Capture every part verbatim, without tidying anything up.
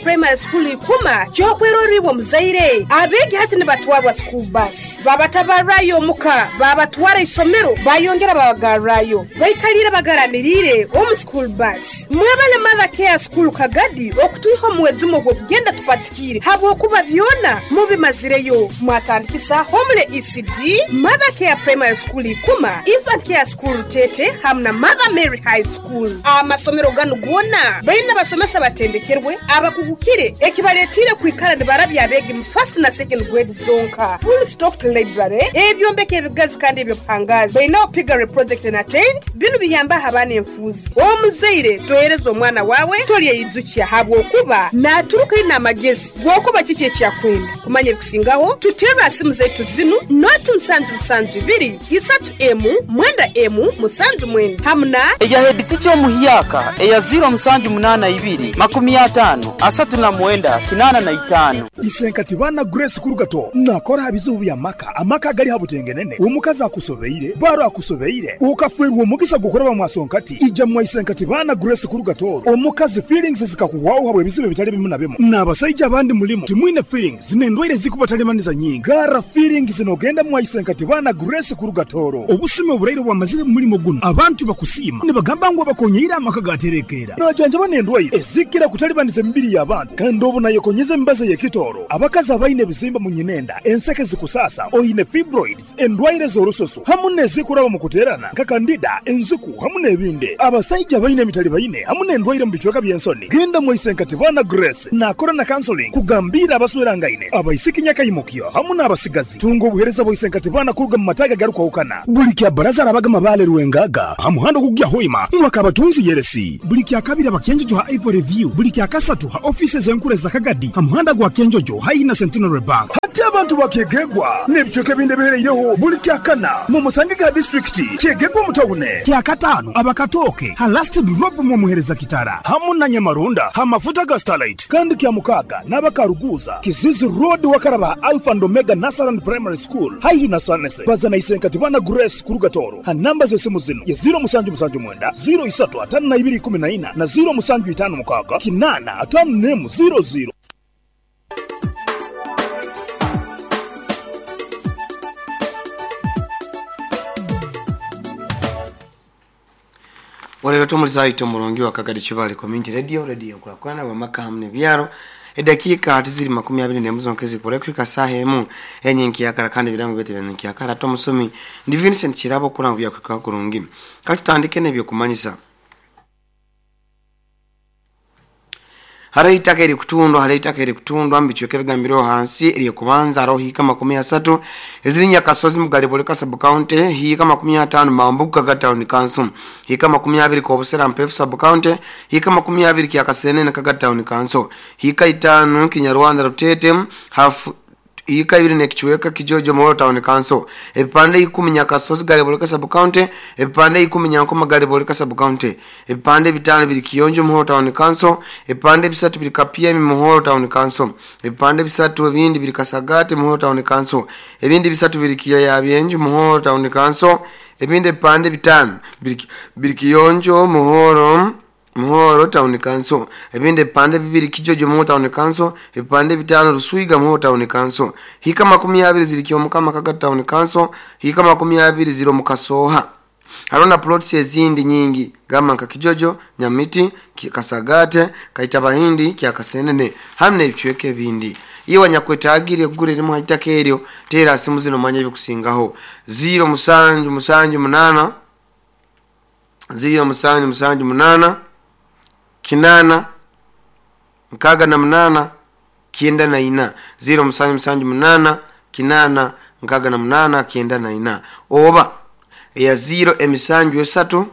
Primary School ikuma kyokweroribwa muzaire abeegi hati nibatwarwa school bus babatabarrayo omuka babatwara isomero bayongera babagarrayo baikalire bagaramirire omu school bus. Mwebale Mother Care School Kagadi okutuiha omuwezumo ogw'okugenda tupatikire habwokuba byona mubimazireyo. Mwatandikisa Homele E C D, Mother Care Primary School ikuma, Infant Care School Tete hamu na Mother Mary High School. Amasomero ganu gona baina basomesa batendekerwe abakugukire ekibaletire kwikara nibarabya abegi mu first na second grade zonka. Full stocked library ebyombeko ebigazi kandi ebyobuhangazi baina piggery project and attend binu biyamba abaana enfuzi. Omuzaire tohereza omwana wawe tolyeyijukia habwokuba naturuka ina amagezi gwokuba kiki ekyakwenda kumanya ebikusingaho tutera simu zetu zinu noti musanju musanju ibiri isatu emu mwenda emu musanju mwenda hamuna eya head teacher omuhyaka eya zero musanju munana ibiri makumi atano asatu na mwenda kinana na itano. Isenkati bana Grace Kurugato nakora habizubu bya maka amaka gali habutengenene omukazi akusobeire baro akusobeire ukafwerwa omugisa gukora bamwasonkati ija mwa Isenkati bana Grace Kurugato omukazi feelings zikakuwaho habwe bizibu bitali bimu na bimu n'abasajja abandi mulimo timwine feelings zinendwaire zikubatalemaniza nyingi gara feelings zinogenda mwa Isenkati bana Grace Kurugatoro obusime oburaire bwamazire mulimo guno abantu bakusima nibagamba ngo bakonyeira amaka gaterekera najanja banendwaire ezikira kutalibaniza emibiri y'abantu kandi obu nayekonyeza embaza y'ekitoro abakazi abaine ebizimba mu nyinenda enseke zikusasa oyine fibroids endwaire z'orususu hamu n'ezikuraba mu kuterana nka kandida enzuku hamu n'ebindi abasajja abaine emitali baine hamu n'endwaire mu bicweka by'ensoni genda mu Isenkati bana Grace nakora na counseling kugambira abaswerangaine abaisiki nyakayimukyo hamu n'abasigazi tunga obuhereza bwa Isenkati bana kuruga mu mataga garukwahukana buli kya baraza arabagama bale rwengaga hamuhando kugya hoima mwakabatunzi yeresi buli kya kabiri abakenjojo ha Ivory View buli kya kasatu ha offices enkure za Kagadi hamuhanda gwa Kenjojo haihi na Centenary Bank hati abantu bakegegwa n'ebicweka ebindi bihereireho buli kya kana mu Musangiga district kyegegwa mutawune kya katano abakatoke ha last drop mu muhereza kitara hamu na Nyamarunda ha mafuta ga Starlight kandi kya mukaga n'abakaruguza Kizizi Road wakaraba Alpha and Omega Nasaran Primary School haihi na Sanese bazana Isenkati bana Grace Kurugatoro ha namba z'esimu zino ya zero musanju musanju mwenda zero isatu atano na ibiri kumi na ina na zero musanju itano mukaga kinana atano nemu zero zero. Walero tumulisa ito mulungi wa Kagadi Chibali Community Radio, radio kulakwana wa maka hamne byaro. Edakika atiziri makumi abiri n'emu nkezi kurekika saha emu enye nkiyakara kandi birango bete bya nkiyakara tomusomi ndi Vincent Kirabo kuranga bya kwika kurungi. Katutandike nebyo kumanyisa. Hare itaka eri kutundwa, hare itaka eri kutundwa mbichweke bigambiro hansi eri kubanza aroho hika makumi asatu eziri Nyakasozi Mugaliboleka sub county hika makumi atano Mambuka ga town council hika makumi abiri Kobusera Mpefu sub county hika makumi abiri Kyakasenene Kaga town council hika itano Kinyarwanda Rutete hafu hika ibiri nekichweka Kijojo Moro town council ebipande ikumi Nyakasozi Galiboleka sub county ebipande ikumi Nyankoma Galiboleka sub county ebipande bitano biri Kiyonjo Muhoro town council ebipande bisatu biri Kapyemi Muhoro town council ebipande bisatu ebindi biri Kasagate Muhoro town council ebindi bisatu biri Kiyaya Byenju Muhoro town council ebindi ebipande bitano biri biri Kiyonjo Muhoro Muhoro town council ebindi ebipande bibiri Kijojo Muhoro town council ebipande bitano Ruswiga Muhoro town council hika makumi abiri ziri Kyomukama Kaga town council hika makumi abiri ziro Mukasoha harona plots ezindi nyingi gama nka Kijojo Nyamiti Kasagate Kaitabahindi Kyakasenene hamne ebichweke ebindi iyo wanyakwetagire kugura erimu haitaka eryo tera simu zino manya ebikusingaho zero musanju musanju munana zero musanju musanju munana kinana nkaga na munana kienda na ina zero musanju musanju munana kinana nkaga na munana kienda na ina oba ya zero emisanju esatu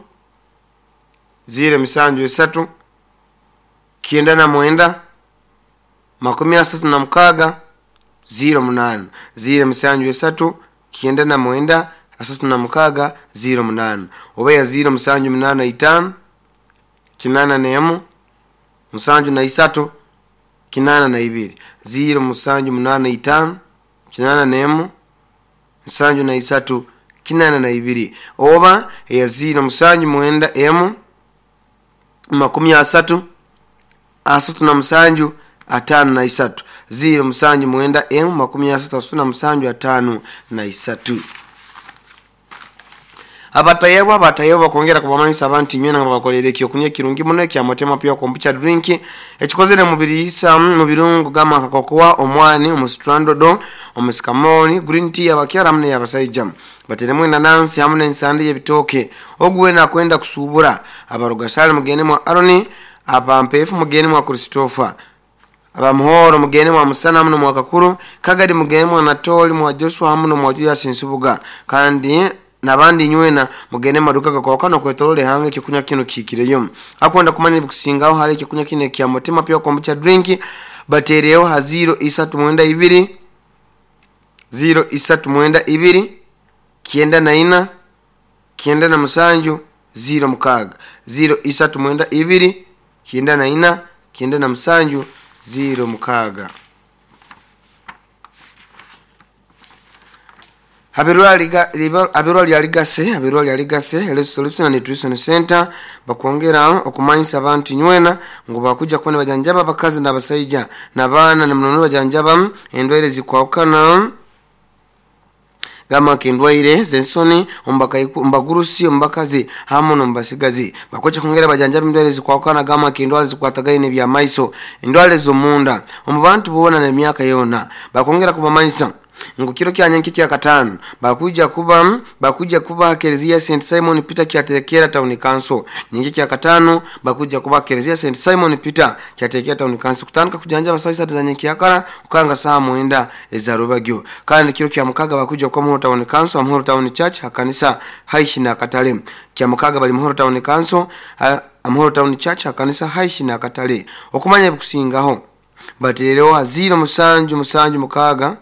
zero emisanju esatu kienda na mwenda makumi asatu na mukaga zero munana zero emisanju esatu kienda na mwenda asatu na mukaga zero munana oba ya zero musanju munana itano kinana na emu musanju na isatu kinana na ibiri zero musanju munana itano kinana na emu musanju na isatu kinana na ibiri oba ya zero musanju mwenda emu makumi asatu asatu na musanju atano na isatu ziro musanju mwenda emu makumi asatu na musanju atano na isatu. Abatayebwa abatayebwa kongera kubamanyisa abantu nywena nga bakolere ekyokunywa kirungi muno ekya Motema Pure Kombucha drink ekikozere mu biriisa mu birungo gama kakokoa omwani omusitrandodo omusikamoni green tea abakyala hamwe n'abasaija bateremu enanansi hamwe n'ensande y'ebitooke oguwena kwenda kusubura abarugasale mugende mwa Aroni abampefu mugende mwa Christopher abamuhoro mugende mwa Musana muno mwa Kakuru Kagadi mugende mwa Natoli mwa Joshua hamwe mwa Julius Nsubuga kandi nabandi nywena mugende maduka gakwakano kwetolole hange kikunya kino kikireyo akwenda kumanya bikusingaho hali kikunya kino kya Motema Pure Kombucha drink batereyo ha ziro isatu mwenda ibiri ziro isatu mwenda ibiri kienda na ina kienda na musanju ziro mukaga ziro isatu mwenda ibiri kienda na ina kienda na musanju ziro mukaga. Abirwali aligase abirwali aligase Health Solution and Nutrition Center bakwongera okumanyisa abantu nywena ngo bakuja kubona bajanjaba abakazi n'abasaija n'abaana n'munono bajanjaba endwaire zikwawukana gama kendwaire zensoni ombagurusi ombakazi hamu nombasigazi bakocha kongera bajanjaba endwaire zikwawukana gama kendwale zikwatagaine bya maiso endwale z'omunda omu bantu boona n'emyaka yona bakongera kubamanyisa ngo kiro kya nyanki kya katano bakuja kuba bakuja kuba Kelezia Saint Simon Peter kyatekera Town Council nyingi kya katano bakuja kuba Kelezia Saint Simon Peter kyatekera Town Council kutandika kujanja basai za nyanki yakara kukanga saa mwenda ezarubagyo kandi kiro kya mukaga bakuja kwa Muhoro Town Council Muhoro Town Church hakanisa haishi na katale kya mukaga bali Muhoro Town Council Muhoro Town Church hakanisa haishi na katale okumanya bikusingaho batereho haziro musanju musanju mukaga